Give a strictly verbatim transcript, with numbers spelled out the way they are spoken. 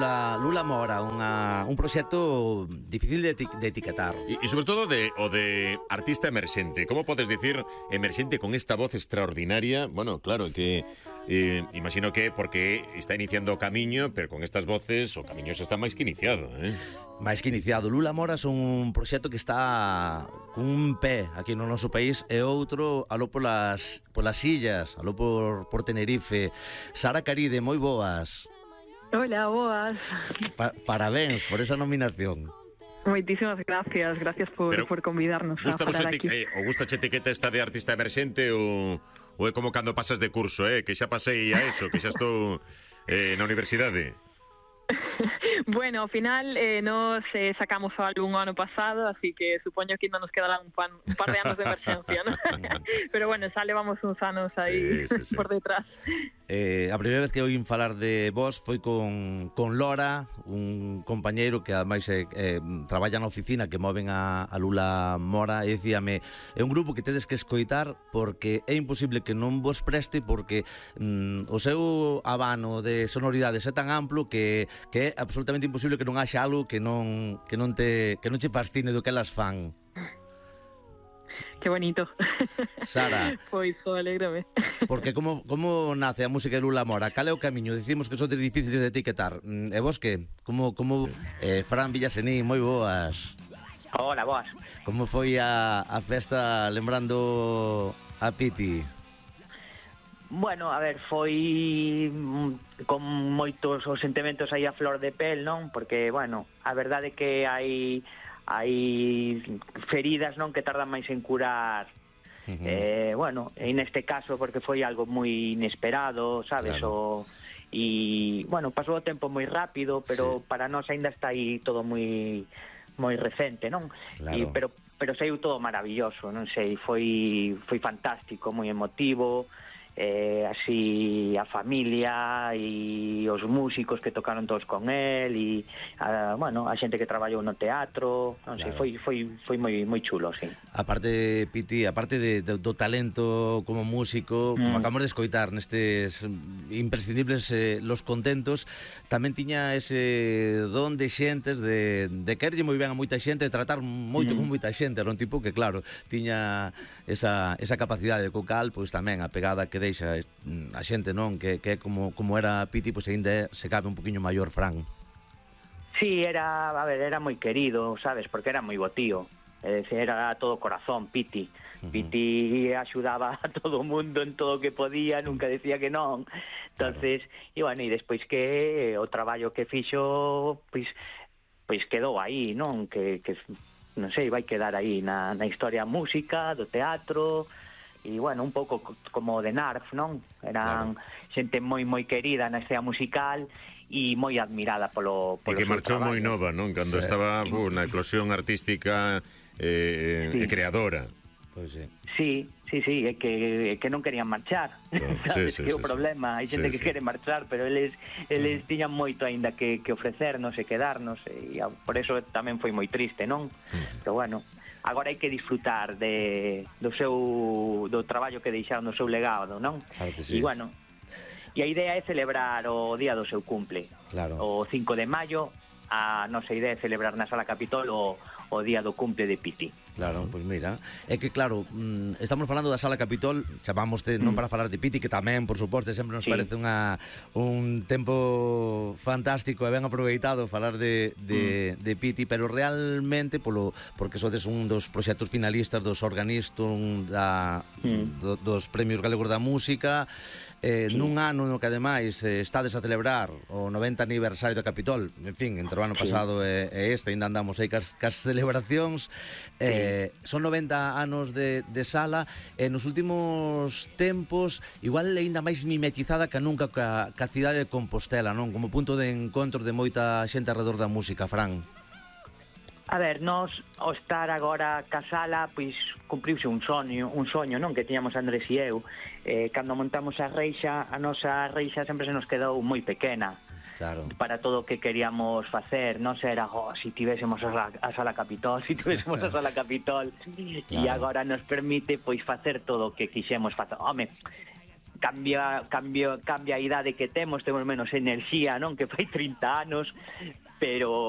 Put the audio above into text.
Lula, Lula Mora, unha, un proxecto difícil de, eti de etiquetar. E, e sobre todo de, o de artista emerxente. Como podes dicir emerxente con esta voz extraordinaria? Bueno, claro, que eh, imagino que porque está iniciando o camiño, pero con estas voces o camiño xa está máis que iniciado, eh? Máis que iniciado. Lula Mora son un proxecto que está cun pé aquí no noso país e outro aló polas, polas illas, aló por, por Tenerife. Sara Caride, moi boas. Hola, boas. Pa parabéns por esa nominación. Moitísimas gracias, gracias por, por convidarnos a falar aquí. Eh, o gusta che etiqueta esta de artista emerxente ou, ou é como cando pasas de curso, eh? Que xa pasei a eso, que xa estou eh, na universidade. Bueno, ao final eh, nos eh, sacamos o álbum o ano pasado, así que supoño que ainda nos quedarán un, pan, un par de anos de emerxencia, ¿no? Pero bueno, xa levamos uns anos aí sí, sí, sí. por detrás. Eh, a primeira vez que oín falar de vos foi con, con Lora, un compañeiro que ademais eh, eh, traballa na oficina que moven a, a Lula Mora, e dicíame, é un grupo que tedes que escoitar porque é imposible que non vos preste, porque mm, o seu abano de sonoridades é tan amplo que, que é absolutamente imposible que non haxa algo que non, que non te que non che fascine do que elas fan. Que bonito. Sara. Pois, so, alégrame. Porque como, como nace a música de Lula Mora? Cal é o camiño? Dicimos que son difíciles de etiquetar. E vos que? Como, como eh, Fran Villasení, moi boas. Hola, boas. Como foi a, a festa lembrando a Piti? Bueno, a ver, foi con moitos os sentimentos aí a flor de pel, non? Porque, bueno, a verdade é que hai hai feridas, non, que tardan máis en curar. Uh-huh. eh, bueno, e neste caso porque foi algo moi inesperado, sabes? Claro. O, e, bueno, pasou o tempo moi rápido, pero sí. Para nós ainda está aí todo moi moi recente, non? Claro. E, pero, pero saiu todo maravilloso, non sei, foi, foi fantástico, moi emotivo. Eh, así a familia e os músicos que tocaron todos con él e a, bueno, a xente que traballou no teatro, non sei, claro. foi, foi, foi moi, moi chulo, sí. Aparte, Piti, aparte de, de, do talento como músico, mm. como acabamos de escoitar nestes imprescindibles eh, Los Contentos, tamén tiña ese don de xentes de, de querlle moi ben a moita xente, de tratar moito mm. con moita xente, era un tipo que, claro, tiña esa, esa capacidade co cal, pois tamén a pegada que deixa a xente, non? Que, que como, como era Piti, pois ainda se cabe un poquinho maior, Fran. Sí, era, a ver, era moi querido, sabes? Porque era moi botío. É dicir, era todo corazón, Piti. Uh-huh. Piti axudaba a todo o mundo en todo o que podía, nunca decía que non. Entonces, claro. E bueno, e despois que o traballo que fixo, pois, pois quedou aí, non? Que, que non sei, vai quedar aí na, na historia música, do teatro. E, bueno, un pouco como de Narf, non? Eran claro. Xente moi, moi querida na escena musical e moi admirada polo, polo e que marchou moi nova, non? Cando sí. estaba uh, na eclosión artística eh, sí. e creadora. Pois sí. Sí, sí, sí, é que, é que non querían marchar. Sabes sí, sí, que é sí, o problema. Hai xente sí, que sí. quere marchar, pero eles eles mm. tiñan moito aínda que, que ofrecernos e quedarnos, e por eso tamén foi moi triste, non? Mm. Pero bueno, agora hai que disfrutar de, do seu do traballo que deixaron, do seu legado, non? Claro que sí. E bueno, e a idea é celebrar o día do seu cumple. Claro. O cinco de maio, a nosa idea é celebrar na Sala Capitol o, o día do cumple de Piti. Claro, pois pues mira, é que claro, estamos falando da Sala Capitol, chamámoste non para falar de Piti, que tamén, por suposto, sempre nos sí. parece unha un tempo fantástico e ben aproveitado falar de, de, mm. de Piti, pero realmente polo porque sodes un dos proxectos finalistas dos organistas da, mm. do, dos Premios Galegos da Música, eh, sí. nun ano no que ademais eh, estades a celebrar o noventa aniversario da Capitol, en fin, entre o ano pasado sí. e, e este, ainda andamos aí cas, cas celebracións, eh, Eh, son noventa anos de, de sala e nos últimos tempos igual ainda máis mimetizada que nunca ca, ca cidade de Compostela, non? Como punto de encontro de moita xente alrededor da música, Fran. A ver, nós ao estar agora ca sala, pois cumpriuse un soño, un soño, non? Que tiñamos Andrés e eu. Eh, cando montamos a reixa, a nosa reixa sempre se nos quedou moi pequena. Claro. Para todo o que queríamos facer, non era, oh, si tivésemos a sala, a sala Capitol, si tivésemos a sala Capitol, claro. E agora nos permite pois facer todo o que quixemos facer. Home, cambia, cambia, cambia a idade que temos, temos menos enerxía, non? Que fai trinta anos, pero